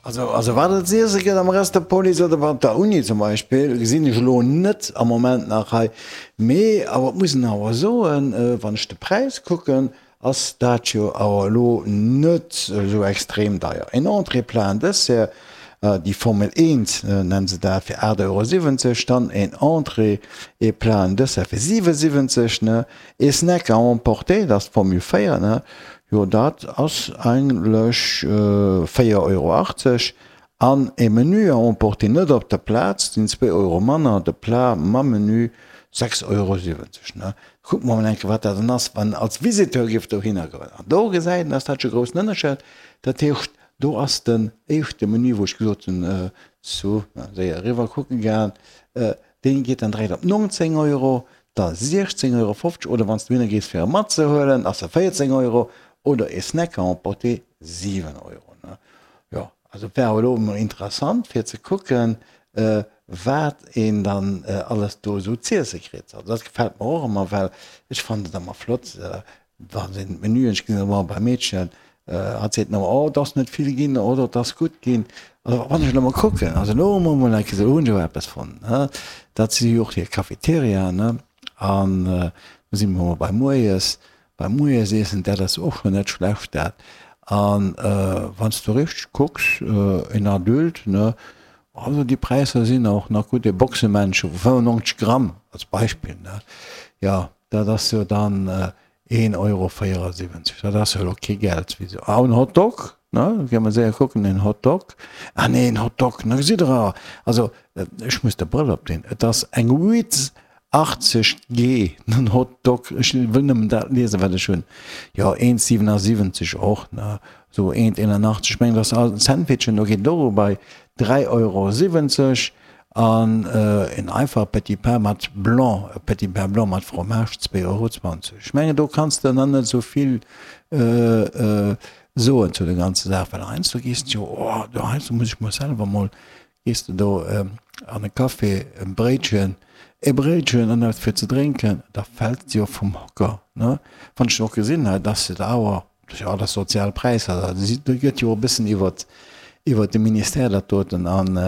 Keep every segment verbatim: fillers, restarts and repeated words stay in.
Also, also wat et z'iesse gëtt am Restopolis oder bei der Uni zum Beispill, gesinn ech elo net am Moment nach hei. Mee awer et muss een awer soen, wann ech de Präis kucken, ass dat jo awer elo net esou extrem deier. En Entrée, Plat an Dessert, déi Formel eent nennen se dat, fir aacht Euro siwwenzeg, dann en Entrée et Plat an Dessert fir siwesiwwenzeg, ne, ee Snack à emporter, dat ass d'Formule véier, ne, jo dat ass eigentlech véier Euro achtzeg, an e Menu à emporter net op der Plaz, sinn zwee Euro manner, de Plat mam Menu sechs Euro siwwenzeg, ne. Kucke mer mol eng Kéier, wat dat dann ass, wann als Visiteur giff dohinner goen. An do gesäit een, ass dat scho groussen Ënnerscheid. Dat heescht, do ass den éischte Menü, wou ech gesot hunn, zu séier eriwwer kucke gaang, dee geet dann direkt op nonzéng Euro, da siechzéng Euro fofzeg oder wann s du dohinner gees fir e matzehuelen, ass e véierzéng Euro oder e Snack à emporter siwen Euro. Jo, also et wär awer elo emol interessant fir ze kucken, wat een dann alles do esou z'iesse kritt. Also dat gefält mer och ëmmer, well ech fannen et ëmmer flott, wann een d'Menüen, ech gesinn ëmmer beim Meedchen, hatt seet ëmmer, oh et ass net vill ginn oder et ass gutt ginn. Also wann ech elo mol kucken, also elo hu mer emol eng Kéier, elo hunn ech awer eppes fonnt, ne, dat si jo och hir Cafeteriaen, ne, an do si mer emol bei moies, beim Moiesiessen, dat ass och schonn net schlecht dat. An wann s du richteg kucks, en Adulte, ne, also déi Präisser sinn och nach gutt, e Boxemännche vu fënnefennonzeg Gramm als Beispill, ne, jo, dat ass jo dann een Euro véierasiwwenzeg, dat ass jo elo kee Geld. Wéi se, ah, en Hotdog, ne, gi mer séier kucken, en Hotdog, ah nee, en Hotdog, na gesitt Der awer, also ech muss de Brëll opdinn, et ass eng Witz achtzeg G den Hot Dog, ech wëll nëmmen dat liesen wat ech hunn, jo eent siwenasiwwenzeg och ne, sou eent eenanachtzeg, ech mengen dat ass all Sandwichen, do geet et och elo bei dräi Euro siwwenzeg an en einfache Petit Pain mat Blanc, e Petit Pain blanc mat Fromage zwee Euro zwanzeg. Ech mengen do kanns de nach net esou vill soen zu der ganzer Saach, well heiansdo gees de jo, oh do heiansdo muss ech mer selwer mol Gees de do an e Café e Bréitchen, e Bréitchen an eppes fir ze drénken, da fält et jo vum Hocker, ne? Wann ech och gesinn hei, dass se da awer, jo, dat sozial Präisser, da gëtt jo e bëssen iwwert, iwwert de Ministère dat doten an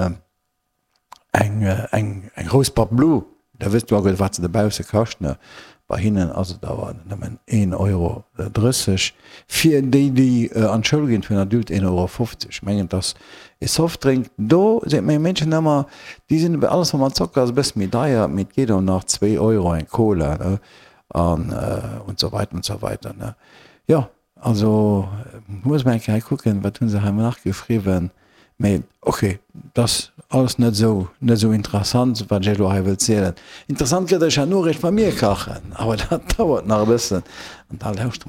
eng, eng, eng grouss Boîte Blue, da wëss du awer wat se dobausse kascht, ne? Bei hinnen ass et awer nëmmen een Euro drësseg. Fir déi, déi an d'Schoul ginn, fir en Adulte een Euro fofzeg. Ech mengen, et ass e Softdrink. Do seet meng Meedchen ëmmer, déi sinn, alles wat mat Zocker ass, e bësse méi deier, mee et geet och nach, zwee Euro eng Cola, ne, an und so weiter und so weiter, ne. Jo, also muss mer eng Kéier hei kucken, wat hu se hei nach geschriwwen. Mee ok, et ass alles net esou net esou interessant, wat ech elo hei wëll zielen. Interessant gëtt ech herno eréischt, wa mir kachen, awer dat dauert nach e bëssen an da lauschtere mer.